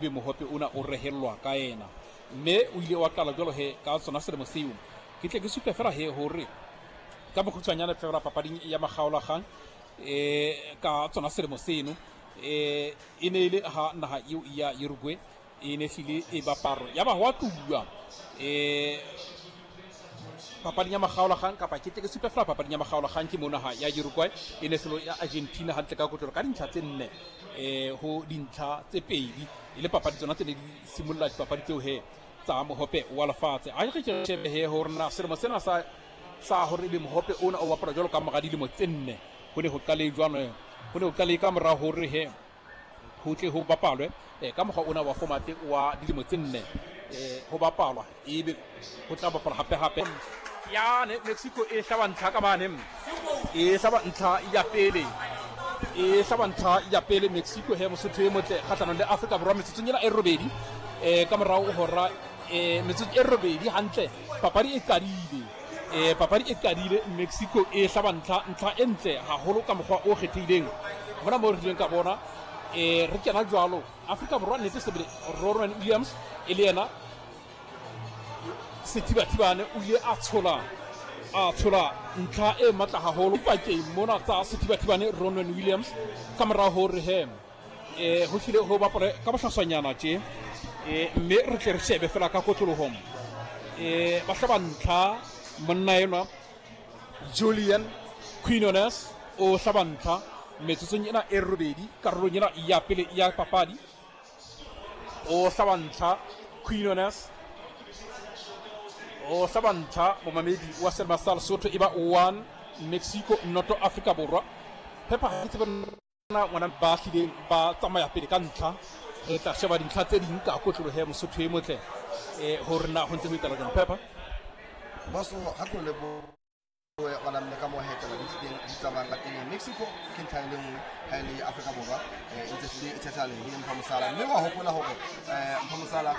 Ebe mohope ona o rehellwa ka yena. Mme o ile wa qala jwalo he ka sona selemo seo. Ke tle ke supe fela he hore ka bokgutshwanyane fela papading ya makgaolakgang e ka tsona selemo seno e e ne e le ha naha eo ya Uruguay e ne hlile e baparo ya ba hwa tluwa e papading ya makgaolakgang kapa ke tle ke supe fela papading ya makgaolakgang ke mo naha ya Uruguay e ne hlolo ya Argentina hantle ka kotlolo ka dintlha tse nne ho dintlha tse pedi e le papadi tsona tse ne di simolola dipapadi tseo he tsa mohope wa lefatshe. A re ke shebe he hore na selemo sena sa hore ebe mohope ona o bapala jwalo ka mora dilemo tse nne ho ne ho qale jwang, ho ne ho qale ka mora hore he ho tle ho bapalwe ka mokgwa ona wa format wa dilemo tse nne ho bapalwa ebe ho tla bapalwa hape hape yane Mexico e hlaba ntlha ka mane e hlaba ntlha ya pele e hlaba ntlha ya pele Mexico he Mosotho e motle kgahlanong le Afrika Borwa metsotsong ena e robedi ka morao hora metsotso e robedi hantle papadi e qadile papadi e qadile Mexico e hlaba ntlha ntlha e ntle haholo ka mokgwa o kgethehileng mona mo re rileng ka bona re kena jwalo Afrika Borwa nnete sebele Ronwen Williams e le yena Sethibathibane o ile a tshola a tshola ntlha e matla haholo pakeng mona tsa Sethibathibane Ronwen Williams ka mora hore he ho hlile ho bapale ka bohlaswanyana tje mme re tle re shebe fela ka kotlolohong ba hlaba ntlha monna enwa Julian Quinones o hlaba ntlha metsotsong ena e robedi karolong ena ya pele ya papadi o hlaba ntlha Quinones o hlaba ntlha momamedi wa Selma sa Lesotho e ba 1 Mexico noto Afrika Borwa Pepper ha ke tsebe na ngwana ba hlileng ba tsamaya pele ka ntlha re tla sheba dintlha tse ding ka kotlolohe Mosotho e motle hore na ho ntse ho etsahala jwang Pepper. Boso ha ko lebohe ngwana mme ka mo hetela di tlileng di tsamayang ka teng. Mexico ke ntlha e le nngwe ha e le Afrika Borwa e ntse hlile e thetha lehe Mpho Mosala, mme wa hopola hore Mpho Mosala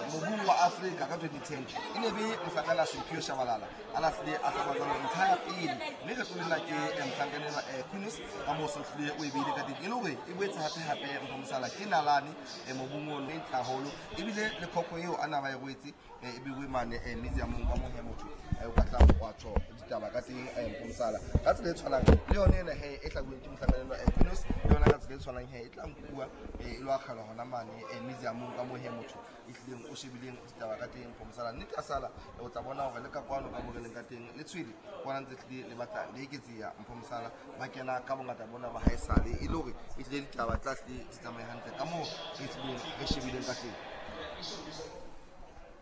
mobung wa Afrika ka 2010 e ne be mohlankana Simphiwe Shabalala a na hlile a hlaba jwalo ntlha ya pele, mme kgetlong lena ke mohlankana enwa Quinones ka moo so hlile o e beile ka teng e le hore e boetse hape hape Mpho Mosala ke nalane mobung ono e ntle haholo ebile le khokho eo a na ba e rwetse e beiwe mane museumong ka moo he motho o ka tlang wa tjho ditaba ka teng Mpho Mosala ka tsela e tshwanang le yone ena he e hlabuweng ke mohlankana enwa Quinones le yona ka tsela e tshwanang he e tla nkuwa e lo akgelwa hona mane museumong ka moo he motho e hlileng o shebileng ditaba ka teng Mpho Mosala. Nnete ya sala o tla bona hore le ka kwano ka mo re leng ka teng le tshwele kwana ntse hlile le batla le eketseha Mpho Mosala ba kena ka bongata bona ba haesale e le hore e hlile ditaba tla hlile di tsamaye hantle ka moo re hlileng re shebileng ka teng.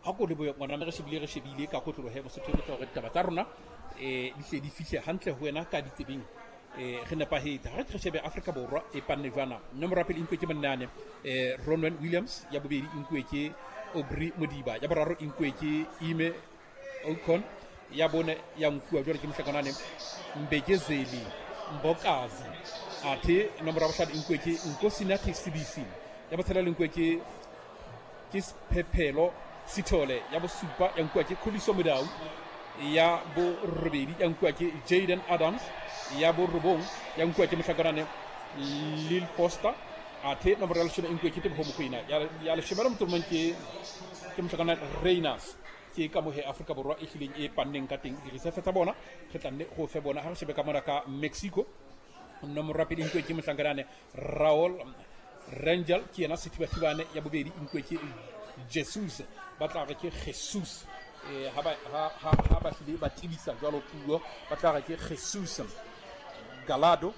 Ha ko lebohe ngwana re shebile re shebile ka kotlolohe Mosotho e motle hore ditaba tsa rona di hle di fihle hantle ho wena ka ditsebeng re nepahetse. Ha re re shebe Afrika Borwa e panne jwana. Nomoro ya pele e nkuwe ke monnane Ronwen Williams, ya bobedi e nkuwe ke Aubrey Modiba, ya boraro e nkuwe ke Ime Ocon, ya bone ya nkuwa jwale ke mohlakanane Mbekezeli Mbokazi, athe nomoro ya bohlano e nkuwe ke Nkosinathi Sibisi, ya botshelela e nkuwe ke Sephephelo Sithole, ya bosupa ya nkuwa ke Khuliso Mudau, ya borobedi ya nkuwa ke Jaden Adams, ya borobong ya nkuwa ke mohlakanane Lil Foster, athe nomoro ya leshome e nkuwe ke Teboho Mokoena, ya leshome le motso mong ke mohlakanane Reiners. Ke ka mohe Afrika Borwa e hlileng e panneng ka teng diresefe tsa bona re tla nne go fe bona. Ha re shebe ka mona ka Mexico nomoro ya pele e nkuwe ke mohlakanane Raul Rangel, ke yena sethibathibane, ya bobedi e nkuwe ke Jesus, ba tla re ke Jesus ha ba hlile ba tebisa jwalo puo ba tla re ke Jesus Galado.